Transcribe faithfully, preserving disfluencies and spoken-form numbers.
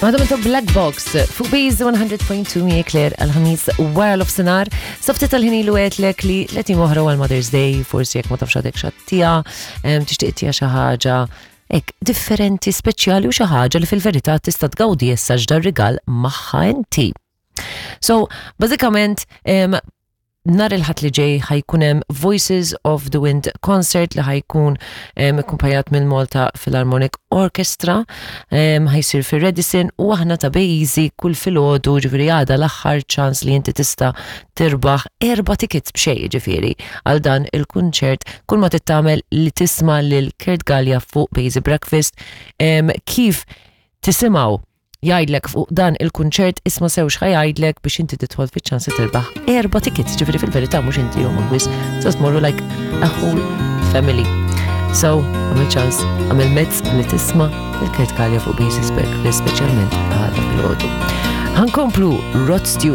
Madam to Black Box fuq Base one hundred point two, mi Claire, għal-Ħamis wara l-ofsinar. Softi tal-ħin ilu għedtlek li tletin oħra għal Mother's Day, forsi jekk ma tafx għadek x'għattija, tixtieq tija xi ħaġa ek differenti, speċjali u xi ħaġa li fil-verità tista' tgawdi issa ġdar rigal magħha inti. So, bażikament, em, nhar il-Ħadd li ġej ħa jkun hemm Voices of the Wind concert li ħa jkun akkumpanjat minn Malta Philharmonic Orchestra, em, ħa jsir fir Radisson u aħna ta' Bejzi kull filgħodu, ġifieri għada l-aħħar ċans li inti tista' tirbaħ erba' tickets b'xejn, ġifieri għal dan il-kunċert. Kull ma tittamel li tisma' lil Kurt Gallia fuq Bejzi Breakfast, em, kif tisimgħu jgħidlek fuq dan il-kunċert, isma' sew x'ħa jgħidlek biex inti tidħol fiċ-ċans li tirbaħ erba' tickets, ġifieri fil-verità mhux inti u biss, so tmorru like a whole family. So, għamil ċans, għamil mezz li tisma' il-Kurt Gallia fuq Basis Breakfast, speċjalment għada filgħodu. Ħa nkomplu Rod Stewart.